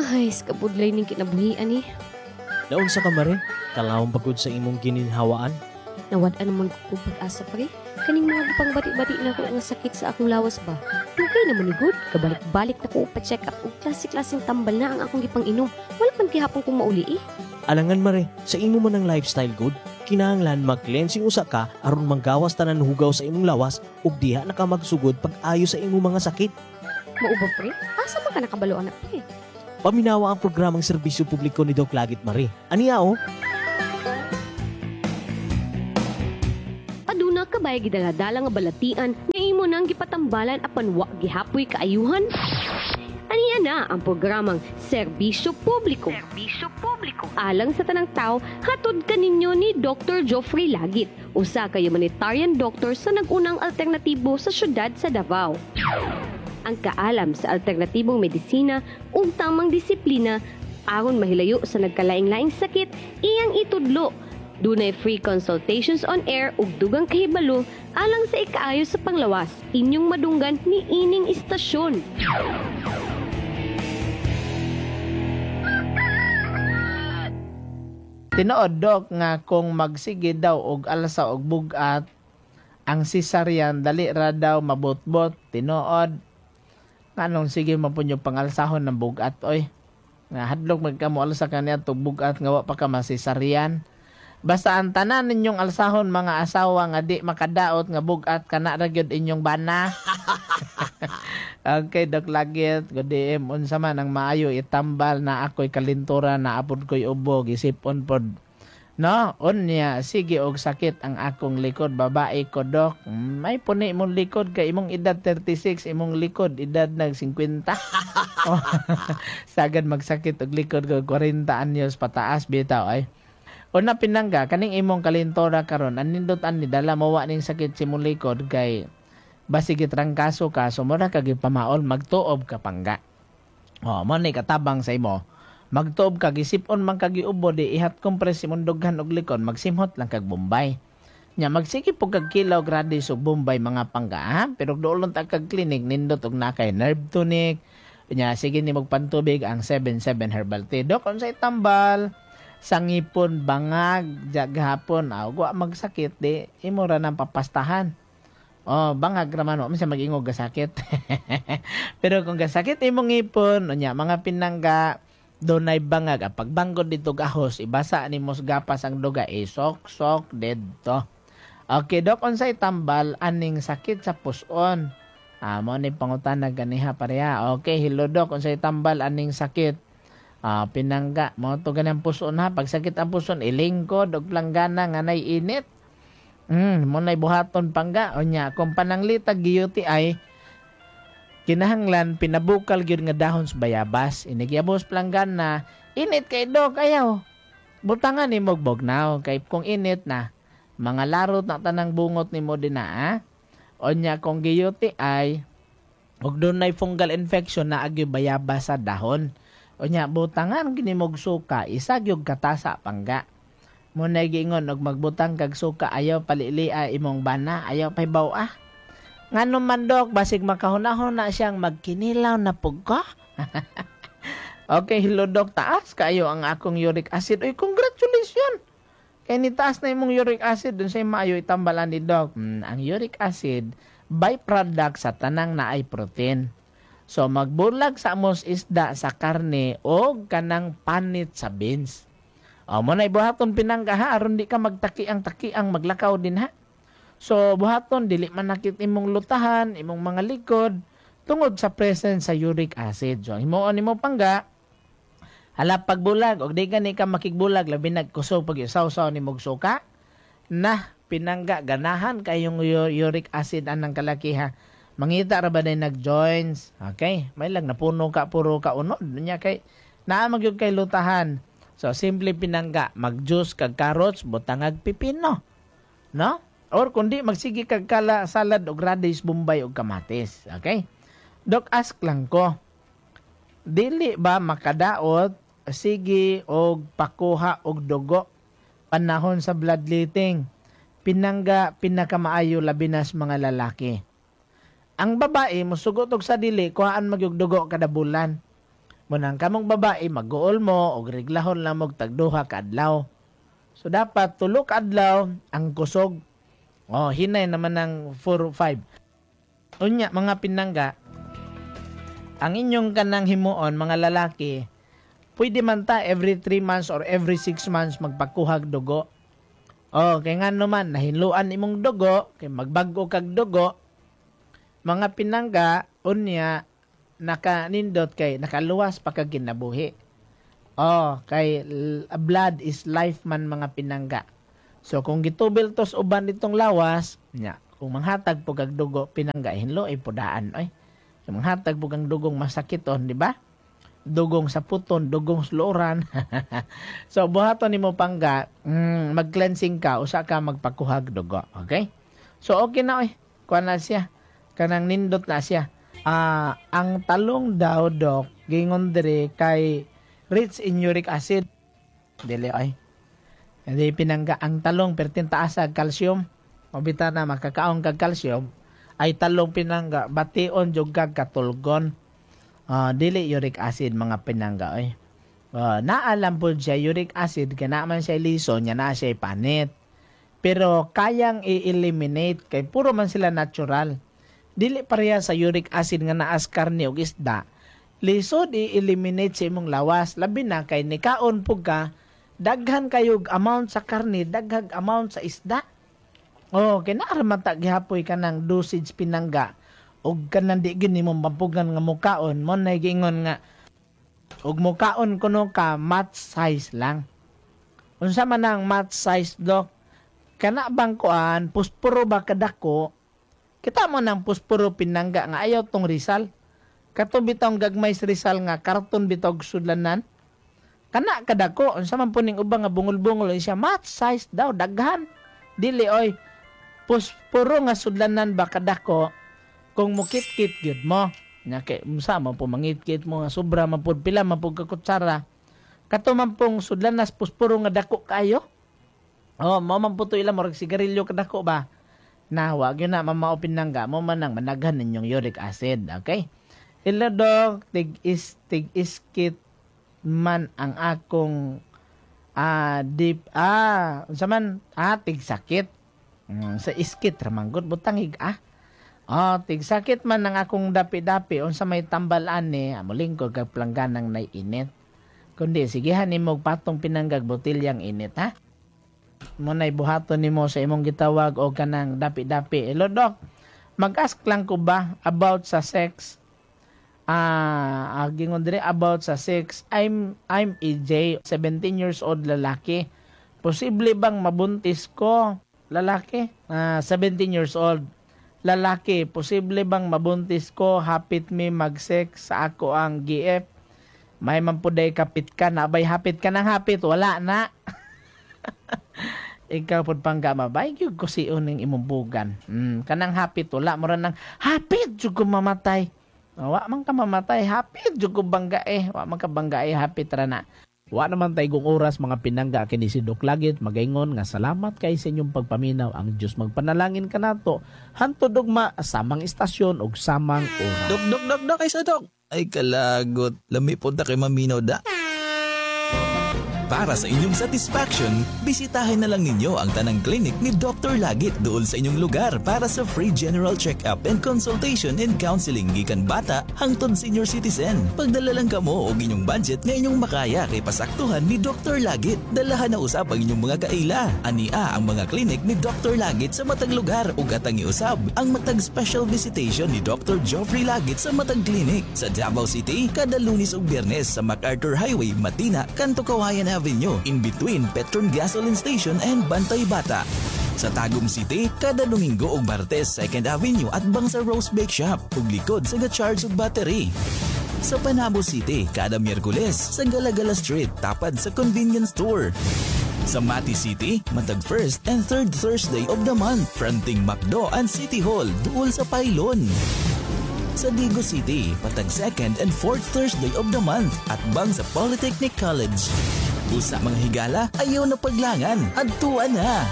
Ay, kabudlay ning kinabuhian eh. Naunsa ka, mare? Kalawang pagod sa imong gininhawaan? Nawad-an naman ko kong pag-asa, pre. Kaning mga gipang bati-bati na ko nga sakit sa akong lawas ba. Dugay naman ni good. Kabalik-balik na ko pa-check up og klase-klaseng tambal na ang akong gipang inom. Wala man gihapon kong mauli eh. Alangan, mare, sa imo man ang lifestyle good, kinahanglan mag-cleansing usa ka aron manggawas tanan hugaw sa imong lawas ug diha na ka magsugod pag-ayo sa imong mga sakit. Mao ba, pre? Asa man ka nakabalo ana, pre? Paminawa ang programang serbisyo publiko ni Doc Lagit, mare. Aniya oh? Aduna ka bay gidaladala nga balatian nga imo nang gipatambalan apan wa gihapoy kaayuhan? Aniya na ang programang Serbisyo Publiko. Serbisyo Publiko. Alang sa tanang tao, hatod kaninyo ni Dr. Geoffrey Lagit, usa ka humanitarian doctor sa nag-unang alternatibo sa syudad sa Davao. Ang kaalam sa alternatibong medisina ug tamang disiplina aron mahilayo sa nagkalaing-laing sakit iyang itudlo. Dunay free consultations on air ug dugang kahibalo alang sa ikaayo sa panglawas. Inyong madunggan ni ining istasyon. Tinuod, Dok, nga kung magsige daw og alsa og bugat ang cesarean dali ra daw mabotbot. Tinuod? Nganong sige man pud yung pangalsahon ng bugat oy? Nga hadlok magkamo alsa kaniya tug bugat nga wa pa ka ma-cesarean. Basta ang tanan ninyong alsahon mga asawa nga di makadaot nga bugat kana ra gyud inyong bana. Okay, Doc Lagit, good DM. Unsa man ang maayo itambal na ako'y kalintura na apod ko'y ubo, gisipon pod. No, unya sige og sakit ang akong likod, babae ko, Dok. May puni imong likod kay imong edad 36, imong likod edad nag 50. Oh, sagad magsakit og likod ko 40 anyos pataas bitaw ay. Una, pinangga, kaning imong kalintora karon anindot ani dala mo wa ning sakit sa imong likod kay basig gitrangkaso ka, so mura ka gipamaol, magtuob ka, pangga. Oh, mo ni katabang sa imo. Magtuob ka, gisipon man kag giubo, di i-hot compress imong dughan og likod, magsimhot lang kag Bombay. Nya magsige po kag kilaw grades og Bombay, mga pangga, ha? Pero doolon ta kag clinic nindot og nakay nerve tonic. Nya sige ni magpantubig ang 77 herbal tea. Dok, unsay tambal? Sangipon bangag gahapon aw wa magsakit di imo ra nang papastahan. Oh, bangag ra man wa man siya mag-ingog gasakit. Pero kung gasakit imong ngipon, unya mga pinangga, dunay bangag, ang pagbanggod dito gahos, ibasa nimo sa gapas ang duga, eh, sok sok didto. Okay, Dok, unsay tambal aning sakit sa puson? Ah, mo ni pangutana ganiha pareha. Okay, hello Dok, unsay tambal aning sakit? Ah, pinangga, mo to ganang puson ha, pag sakit ang puson, ilingkod og planggana nga nay init. Mo nay buhaton, pangga. Unya, kung pananglita gi-UTI, kinahanglan pinabukal gyud nga dahon sa bayabas. Inigyabos planggana, init kay Dok, ayaw. Butangan nimo og bugnaw kay kung init na, mga larot na tanang bungot nimo dinha. Ah. Unya kung gi-UTI ug dunay fungal infection na agyo bayabas sa dahon. Unya butangan gini mo og suka, isa gyud katasa, pangga. Mo na giingon og magbutang kag suka ayaw palilia imong bana, ayaw pahibaw ah. Ngano man, Dok, basig makahunahon na siyang magkinilaw na pug ko. Okay, hello Dok, taas kayo ang akong uric acid. Uy, congratulations! Kay ni taas na imong uric acid, dun say maayo itambalan ni Dok? Ang uric acid, byproduct sa tanang naay protein. So magbulag sa amos isda sa karne o kanang panit sa beans. O mo na ibuhaton, pinangga ha, aron di ka magtaki ang taki ang maglakaw din ha. So buhaton dili man nakit imong lutahan, imong mga likod tungod sa presence sa uric acid. So himuon nimo, pangga, hala pagbulag og di gani ka makigbulag labi nagkusog pag isaw-saw nimo og suka na, pinangga, ganahan kayong uric acid anang kalakiha. Mangita ra ba day nag-joints? Okay, may lang napuno ka puro ka unod nya kay naa magyud kay lutahan. So simple, pinangga, mag-juice kag carrots, butangag pipino. No? Or kundi magsige kag kala salad og radish, bombay og kamatis. Okay? Dok, ask lang ko. Dili ba makadaot sige og pakuha og dugo panahon sa bloodletting? Pinangga, pinakamaayo labi na sa mga lalaki. Ang babae musugot og sa dili kuhaan magyug dugo kada bulan. Munang kamong babae, mag-uol mo og reglahon lang mo tag 2 ka adlaw. So dapat 3 ka adlaw ang kusog. Oh, hinay naman ng 4 5. Unya mga pinangga, ang inyong kanang himuon mga lalaki, pwede man ta every 3 months or every 6 months magpakuhag dugo. Oh, kay ngano man nahinluan imong dugo, kay magbag-o kag dugo. Mga pinangga, unya nakanindot kay nakaluwas pa kag kinabuhi. Oh, kay blood is life man mga pinangga. So kung gitubil tos uban nitong lawas, nya, kung manghatag po kag dugo pinangga, hinlo ay pudaan oy. Kung manghatag po kang dugong masakiton, di ba? Dugong sa puton, dugong sa. So buhaton nimo pangga, mag-cleansing ka, usa ka magpakuhag dugo, okay? So okay na oy. Kuan na siya. Kanang nindot na siya. Ang talong daw dok, gingon diri kay rich in uric acid. Dili ay. Hindi pinangga ang talong pertin taas sa calcium. Mabita na makakaon kag calcium ay talong pinangga bation jud kag katulgon. Dili uric acid mga pinangga oy. Naalam po siya uric acid kay naa man siya lison nya naa siya panit. Pero kayang i-eliminate kay puro man sila natural. Dili pareha sa uric acid nga naas karne ug isda. Lisod i-eliminate sa imong lawas, labi na kay nikaon pug ka, daghan kayog amount sa karne, daghag amount sa isda. Oh, kay naa ra man ta gihapoy kanang dosage pinangga ug kanang di gyud nimo mampugan nga mukaon, mo nay giingon nga ug mukaon kuno ka match size lang. Unsa man ang match size dok? Kana bang kuan puspuro ba kadako? Kita mo nang puspuro pinangga nga ayaw tong Rizal. Kato bitong gagmay sa Rizal nga karton bitaw sudlanan. Kana kadako unsa man po ning ubang nga bungol-bungol siya match size daw daghan. Dili oy puspuro nga sudlanan ba kadako kung mukit-kit gyud mo. Nya kay unsa man po mangit-kit mo nga sobra man pud pila man pud ka kutsara. Kato man pong sudlanas puspuro nga dako kaayo. Oh, mao man po to ila murag sigarilyo kadako ba. Na wag yun na mamao pinangga mo man ang managhan ninyong uric acid, okay? Hello dok, tig iskit man ang akong deep unsa man tig sakit. Sa iskit ra man gud butang hig Oh, tig sakit man ang akong dapi-dapi unsa may tambal ani, mulingkod kag plangganang nay init. Kundi sigihan nimo patong pinanggag botilyang init ha. Mo nay buhaton nimo sa imong gitawag o kanang dapi-dapi. Hello dok, mag-ask lang ko ba about sa sex? Gingon diri about sa sex. I'm EJ, 17 years old lalaki. Posible bang mabuntis ko? Lalaki, 17 years old. Lalaki, posible bang mabuntis ko? Hapit mi mag-sex sa ako ang GF. May mampuday kapit ka na, abay hapit ka ng hapit, wala na. Ikaw pud pangga mabay gyud ko si uning imong bugan. Kanang hapit wala mo ra nang hapit jud ko mamatay. Wa man ka mamatay, hapit jud ko bangga eh. Wa man ka bangga eh, hapit ra na. Wa naman tay gong oras mga pinangga kini si Dok Lagit magaingon nga salamat kay sa inyong pagpaminaw. Ang Dios magpanalangin kanato hantod ugma samang istasyon ug samang oras. Dok dok dok dok ay sa dok. Ay kalagot, lami pod ta kay maminaw da. Para sa inyong satisfaction, bisitahin na lang ninyo ang tanang clinic ni Dr. Lagit doon sa inyong lugar para sa free general check-up and consultation and counseling gikan bata hangtod senior citizen. Pagdala lang kamo og inyong budget nga inyong makaya kay pasaktuhan ni Dr. Lagit. Dalahan na usab ang inyong mga kaila. Ania ang mga clinic ni Dr. Lagit sa matag lugar ug atang iusab ang matag special visitation ni Dr. Joffrey Lagit sa matag clinic sa Davao City kada Lunes ug Biyernes sa MacArthur Highway, Matina, Kanto Kawayan Avenue, in between Petron Gasoline Station and Bantay Bata. Sa Tagum City, kada Domingo ug Martes, 2nd Avenue at bang sa Rose Bake Shop ug likod sa ga-charge og battery. Sa Panabo City, kada Miyerkules sa Galagala Street, tapad sa convenience store. Sa Mati City, matag first and third Thursday of the month, fronting McDo and City Hall, duol sa Pylon. Sa Digo City, patag second and fourth Thursday of the month at bang sa Polytechnic College. Usa mga higala, ayaw na paglangan, adtuan na!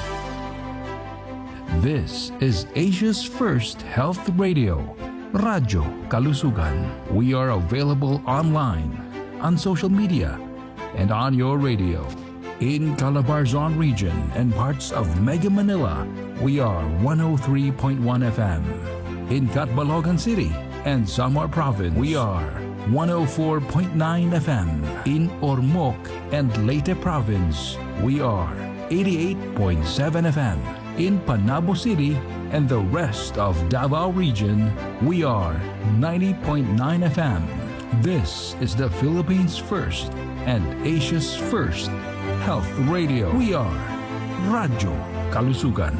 This is Asia's first health radio, Radyo Kalusugan. We are available online on social media and on your radio. In Calabarzon region and parts of Mega Manila, we are 103.1 FM. In Catbalogan City and Samar Province, we are 104.9 FM. In Ormoc and Leyte Province, we are 88.7 FM. In Panabo City and the rest of Davao Region, we are 90.9 FM. This is the Philippines' first and Asia's first health radio. We are Radyo Kalusugan.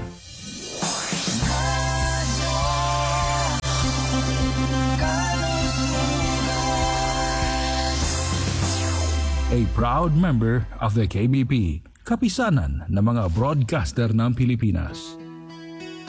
A proud member of the KBP, Kapisanan ng mga Broadcaster ng Pilipinas.